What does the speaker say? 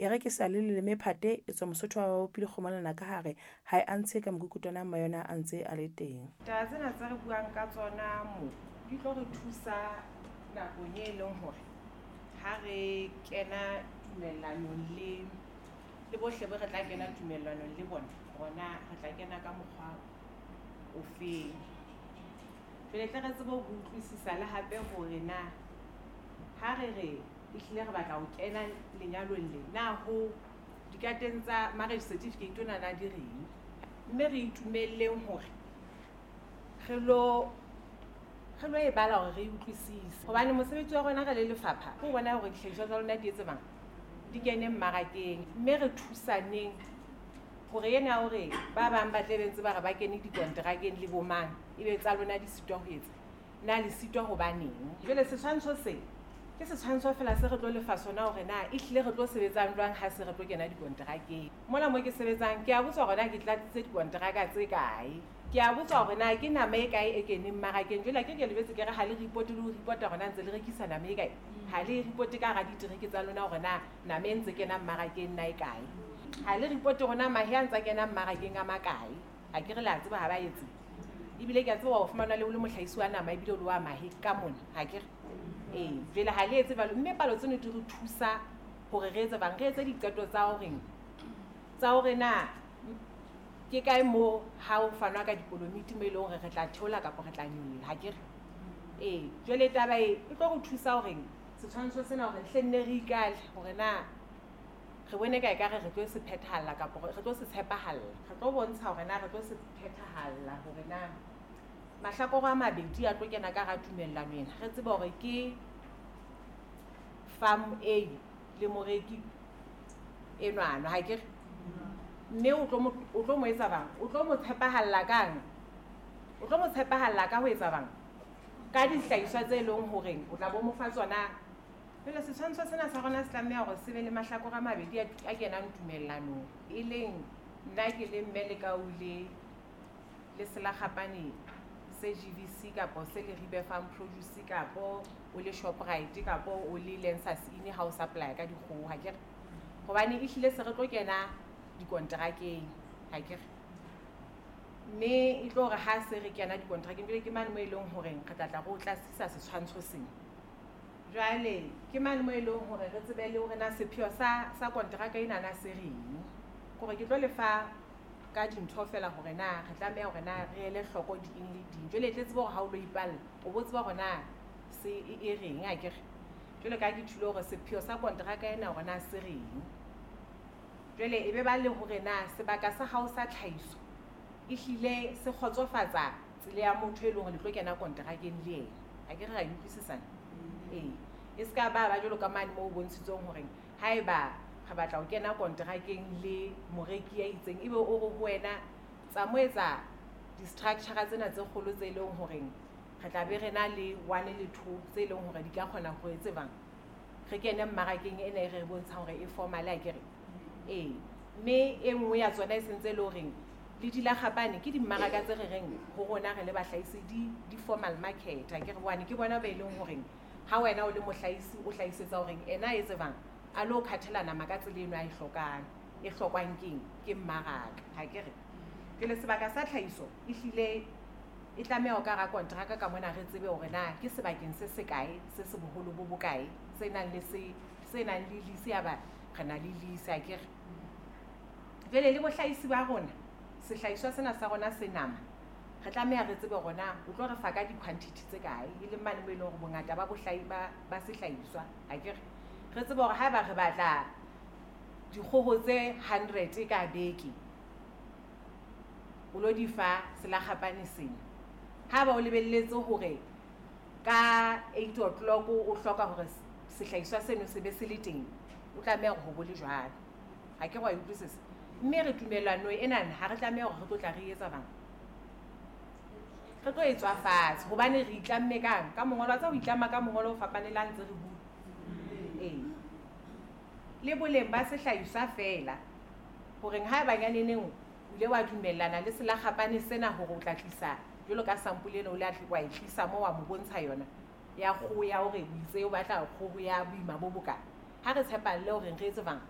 E re ke sa le leleme phate, etswa Mosotho wa bopile kgomo lenaka hare, ha e a ntshe ka mokukutwana mma yona a ntse a le teng. Taba tsena tse re buang ka tsona mo di tlo re thusa nakong e leng hore ha re kena tumellanong le bohle bo re tla kena tumellanong le bona, rona re tla kena ka mokgwa ofeng. Jwale tle re tsebe ho utlwisisa le hape hore na ha re re ehlile re batla ho kena lenyalong le, na ho dikateng tsa marriage certificate ona na di reng, mme re itumelleng hore re lo e bala hore re e utlwisise, hobane mosebetsi wa rona re le lefapha ke ho bona hore dihlahiswa tsa lona di etse bang di kene mmarakeng, mme re thusaneng hore ena ya hore ba bang ba tle be ntse ba re ba kene dikonterakeng le bomang, ebe tsa lona di sitwa ho etsa na le sitwa hobaneng. Jwale setshwantsho se ke setshwantsho fela se re tlo lefa sona hore na ehlile re tlo sebetsang jwang ha se re tlo kena dikonterakeng. Mona mo ke sebetsang ke a botswa hore na ke tlatsitse dikonteraka tse kae, ke a botswa hore na ke nama e kae e keneng mmarakeng. Jwale ke lebetse ke re ha le report le ho reporta hore na ntse le rekisa nama e kae, ha le report ka hara ditereke tsa lona hore na nama e ntse kena mmarakeng na e kae, ha le report hore na mahe a ntse a kena mmarakeng a makae. Ha ke re le a tseba ha ba etse, ebile ke a tseba ho fumana le o le mohlahisi wa nama ebile o le wa mahe ka mona, ha ke re ee. Jwale ha le etse jwalo, mme palo tseno di re thusa hore re etse bang re etse diqeto tsa horeng tsa hore na ke kae mo ha ho fanwa ka dikolomiti mo e leng hore re tla theola kapa re tla nyolla, ha ke re ee. Jwale taba e e tlo re thusa horeng setshwantsho sena hore hle nne re ikale hore na re bone ka ekare re tlo se phethahalla kapa re tlo se tshepahalla, re tlo bontsha hore na re tlo se phethahalla hore na mahlakore a mabedi a tlo kena ka hara tumellano ena, re tsebe hore ke farm A le moreki enwana, ha ke re mme o tlo mo etsa bang, o tlo mo tshepahalla kang, o tlo mo tshepahalla ka ho etsa bang ka dihlahiswa tse leng horeng o tla bo mo fa tsona. Jwale setshwantsho sena sa rona se tlameha hore se be le mahlakore a mabedi a kenang tumellanong, e leng nna ke le mme Lekau le Selakgapane se GVC kapo se Leribe Farm Produce kapo o le Shoprite kapo o le Lancers Inn ha o supply ka dikgoho, ha ke re, hobane ehlile se re tlo kena dikonterakeng, ha ke re, mme e tlo hore ha se re kena dikonterakeng jwale ke mane mo e leng horeng re tla tla re o tlasisa setshwantsho sena. Jwale ke mane mo e leng hore re tsebe le hore na sepheo sa konteraka ena na se reng, kore ke tlo lefa ka dintho fela hore na re tlameha hore na re ele hloko di eng le ding. Jwale e tle tsebe hore ha o lo ipalla o bo tseba hore na se e reng, ha ke re. Jwale ka ke thulo hore sepheo sa konteraka ena hore na se reng, jwale e be ba le hore na sebaka sa hao sa tlhahiso ehlile se kgotsofatsa tsela ya motho e leng hore le tlo kena konterakeng le yena, ha ke re ra e utlwisisana. Ee, e se ka ba jwalo ka mane moo o bontshitsweng hore haeba re batla ho kena konterakeng le moreki ya itseng, ebe o re ho wena tsa mo etsa di-structure tsena tse kgolo tse leng horeng re tla be re na le one le two tse leng hore di ka kgona ho etse bang re kene mmarakeng ena e re bontshang hore e formal, ha ke re ee. Mme e nngwe ya tsona e sentse e le horeng le dilakgapane ke dimmaraka tse re reng ho rona re le bahlahisi di formal market, ha ke re, bone ke bona ba e leng horeng ha wena o le mohlahisi o hlahisetsa horeng ena e tsebang a lo khathela nama ka tsela eno a e hlokang e hlokwang keng ke mmaraka, ha ke re. Jwale sebaka sa tlhahiso ehlile e tlameha ho ka hara konteraka ka mona re tsebe hore na ke sebakeng se sekae se se boholo bo bokae se nang le se nang le lease, ya ba re na le lease, ha ke re. Jwale le bohlahisi ba rona sehlahiswa sena sa rona se nama re tlameha re tsebe hore na o tlo re fa ka di-quantity tse kae, e leng mane mo e leng hore bongata ba bohlahi ba sehlahiswa, ha ke re, re tsebe hore haeba re batla dikgoho tse 100 ka beke o lo di fa selakgapane sena, ha ba o lebelletse hore ka 8 o'clock o hloka hore sehlahiswa seno se be se le teng, o tlameha hore ho bo le jwalo, ha ke re wa e utlwisisa. Mme re tumellano enana ha re tlameha hore re tlo tla re etsa bang re tlo e tswa fatshe, hobane re itlamme kang ka mongolo wa tsa ho itlama ka mongolo o fapane le ha ntse re bua. Ee, le boleng ba sehlahiswa feela horeng ha eba nyaneneng o ile wa dumellana le selakgapane sena hore o tla tlisa jwalo ka sample ena o ile wa e tlisa mo wa mo bontsha yona ya kgoho ya hore o itse o batla kgoho ya boima bo bokae, ha re tshepalle hore re etse bang.